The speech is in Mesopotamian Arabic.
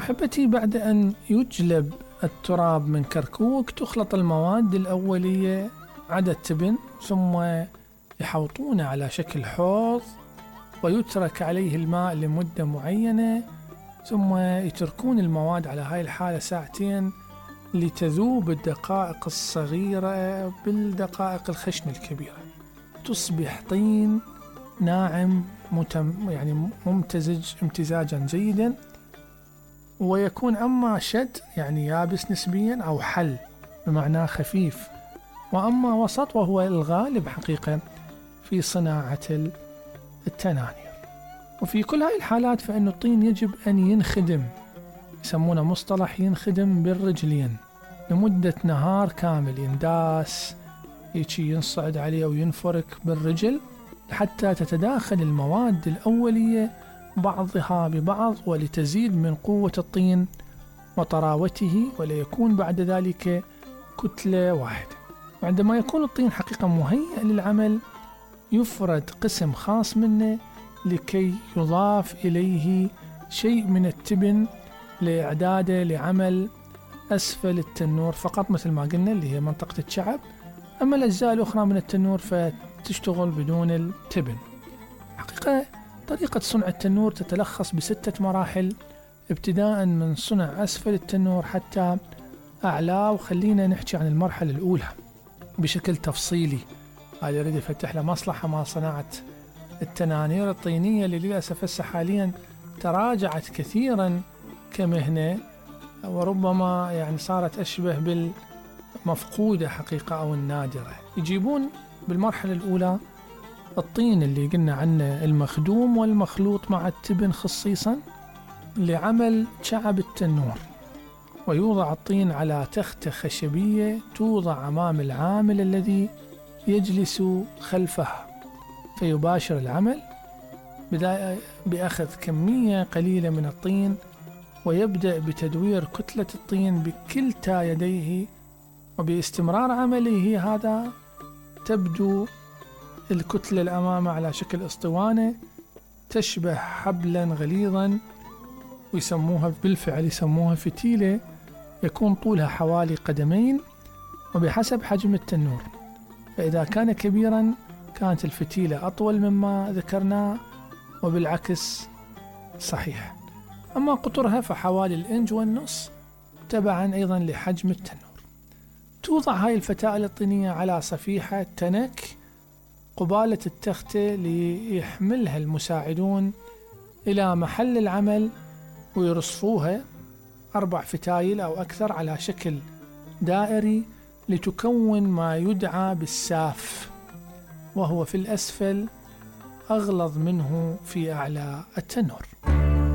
أحبتي، بعد أن يجلب التراب من كركوك تخلط المواد الأولية عدا التبن، ثم يحوطونه على شكل حوض ويترك عليه الماء لمدة معينة، ثم يتركون المواد على هاي الحالة ساعتين لتذوب الدقائق الصغيرة بالدقائق الخشن الكبيرة، تصبح طين ناعم يعني ممتزج امتزاجا جيدا، ويكون أما شد يعني يابس نسبيا أو حل بمعنى خفيف، وأما وسط وهو الغالب حقيقة في صناعة التنانير. وفي كل هاي الحالات فإن الطين يجب أن ينخدم، يسمونه مصطلح ينخدم بالرجلين لمدة نهار كامل، ينداس ينصعد عليه وينفرك بالرجل حتى تتداخل المواد الأولية بعضها ببعض ولتزيد من قوة الطين وطراوته، وليكون بعد ذلك كتلة واحدة. عندما يكون الطين حقيقة مهيئ للعمل يفرد قسم خاص منه لكي يضاف إليه شيء من التبن لإعداده لعمل أسفل التنور فقط، مثل ما قلنا اللي هي منطقة الشعب. أما الأجزاء الأخرى من التنور فتشتغل بدون التبن. حقيقة طريقة صنع التنور تتلخص ب6 مراحل، ابتداء من صنع أسفل التنور حتى أعلاه. وخلينا نحكي عن المرحلة الأولى بشكل تفصيلي. هذا يريد يفتح له مصلحة مع صناعة التنانير الطينية اللي للأسف هسه حاليا تراجعت كثيرا كمهنة، وربما يعني صارت أشبه بالمفقودة حقيقة أو النادرة. يجيبون بالمرحلة الأولى الطين اللي قلنا عنه المخدوم والمخلوط مع التبن خصيصا لعمل شعب التنور، ويوضع الطين على تختة خشبية توضع أمام العامل الذي يجلس خلفها، فيباشر العمل بأخذ كمية قليلة من الطين، ويبدأ بتدوير كتلة الطين بكلتا يديه، وباستمرار عمله هذا تبدو الكتلة الأمامة على شكل اسطوانة تشبه حبلا غليظا، ويسموها بالفعل يسموها فتيلة، يكون طولها حوالي قدمين وبحسب حجم التنور. فإذا كان كبيرا كانت الفتيلة أطول مما ذكرنا، وبالعكس صحيح. أما قطرها فحوالي 1.5 تبعا أيضا لحجم التنور. توضع هاي الفتائل الطينية على صفيحة تنك قبالة التختة ليحملها المساعدون إلى محل العمل، ويرصفوها 4 فتايل أو أكثر على شكل دائري لتكون ما يدعى بالساف، وهو في الأسفل أغلظ منه في أعلى التنور.